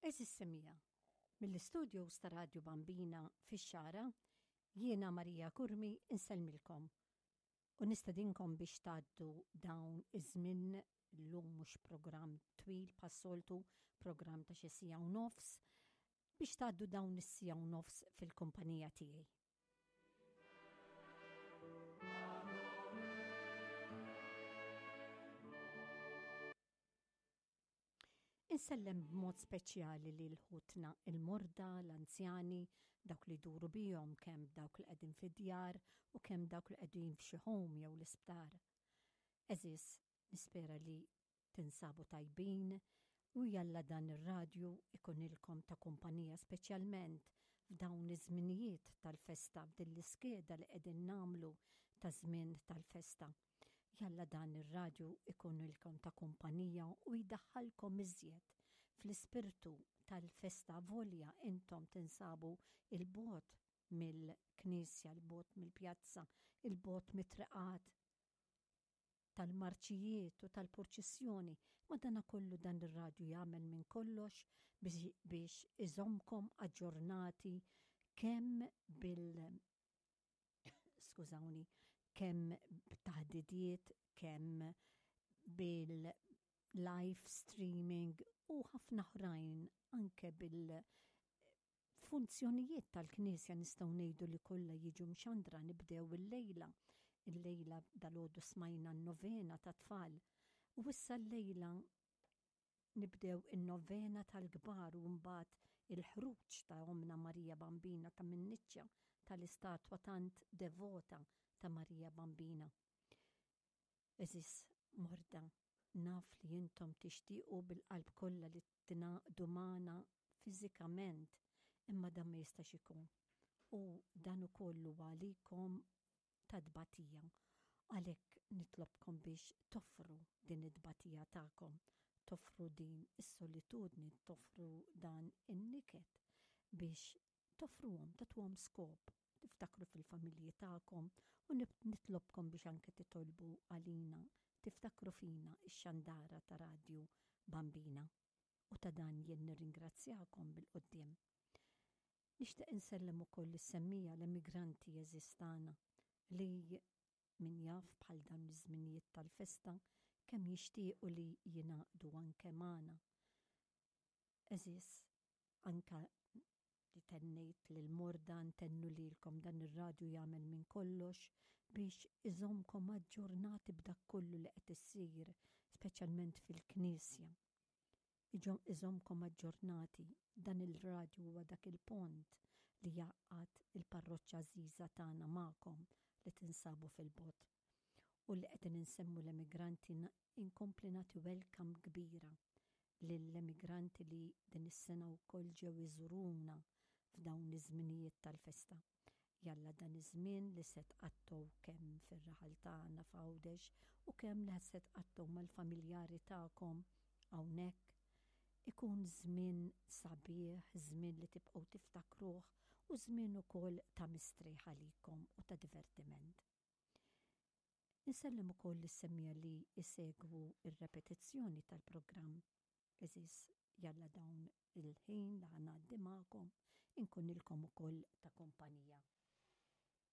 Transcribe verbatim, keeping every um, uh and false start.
Għeżież semmiegħa, mill-istudios ta' Radio Bambina fix-Xagħra, jiena Marija Curmi insellmilkom u nistedinkom biex tgħaddu dawn iż-żmien. Llum mhux programm twil bħas-soltu, programm ta' xi siegħa u nofs, biex tgħaddu dawn is-siegħa u nofs fil-kumpanija tiegħi. Insellem b'mod speċjali lil ħutna il-morda, l-anzjani, dawk li jduru bihom, kemm dawk li qegħdin fid-djar u kemm dawk li qegħdin f'xi home jew l-isptar. Għeżież, nispera li tinsabu tajbin u jalla dan ir-radju ikunilkom ta' kumpanija speċjalment f'dawn iż-żminijiet tal-festa, f'din l-iskeda li qegħdin nagħmlu ta' żmien tal-festa. Jalla dan ir-radju ikunilkom ta' kumpanija u jdaħħalkom iżjed fl-ispirtu tal-festa, volja intom tinsabu il-bogħod mill-knisja, il-bogħod mill-pjazza, il-bogħod mit-triqat tal-marċijiet u tal-purċissjoni, ma dana kollu dan ir-radju jagħmel minn kollox biex iżommkom aġġornati kemm bil skużawni, kemm b'taħdidiet, kemm bil-live streaming u ħafna oħrajn, anke bil-funzjonijiet tal-Knisja nistgħu ngħidu li kollha jiġu mxandra. Nibdew il-lejla. Il-lejla dalgħodu smajna n-novena ta' tfal u issa l-lejla nibdew in-novena tal-kbar u mbagħad il-ħruġ ta' Omna Marija Bambina ta' min-niċċa tal-istatwa tant devota ta' Marija Bambina. Għeżież morda, naf li intom tixtiequ bil-qalb kollha li tingħaqdu magħna fiżikament, imma dan ma jistax ikun. U dan ukoll huwa għalikom ta' tbatija. Għalhekk nitlobkom biex toffru din it-tbatija tagħkom, toffru din is-solitudni, toffru dan in-niket biex toffruhom, tagħtuhom skop, tiftakru fil-familji tagħkom u nitlobkom biex anke titolbu għalina, tiftakru fina ix-xandara ta' Radio Bambina. U ta' dan jien nirringrazzjakom bil-quddiem. Nixtieq insellem ukoll is-semmija l-emigranti għeżież tagħna li min jaf bħal dawn iż-żminijiet tal-festa kemm jixtiequ li jingħaqdu anke magħna. Għeżież, anke li tennejt lil morda ntennu lilkom dan ir-radju jagħmel minn kollox biex iżommkom aġġornati b'dak kollu li qed issir, speċjalment fil-Knisja. Iżommkom aġġornati, dan il-radju huwa dak il-pont li jgħaqqad il-parroċċa għażiża tagħna magħkom li tinsabu fil-bogħod. U li qegħdin insemmu l-emigranti inkompli nagħti welcome kbira lill-emigranti li din is-sena wkoll ġew iżuruna f'dawn iż-żminijiet tal-festa. Jalla dan iż-żmien li se tqattgħu kemm fir-raħal tagħna f'Għawdex u kemm li se tqattgħu mal-familjari tagħkom hawnhekk ikun żmien sabiħ, żmien li tibqgħu tiftakruh u żmien ukoll ta' mistrieħ għalikom u ta' divertiment. Insellem ukoll lis-semmija li jsegwu ir-repetizzjoni tal-programm. Għeżież, jalla dawn il-ħin li ħanaddi magħkom inkunilkom ukoll ta' kumpanija.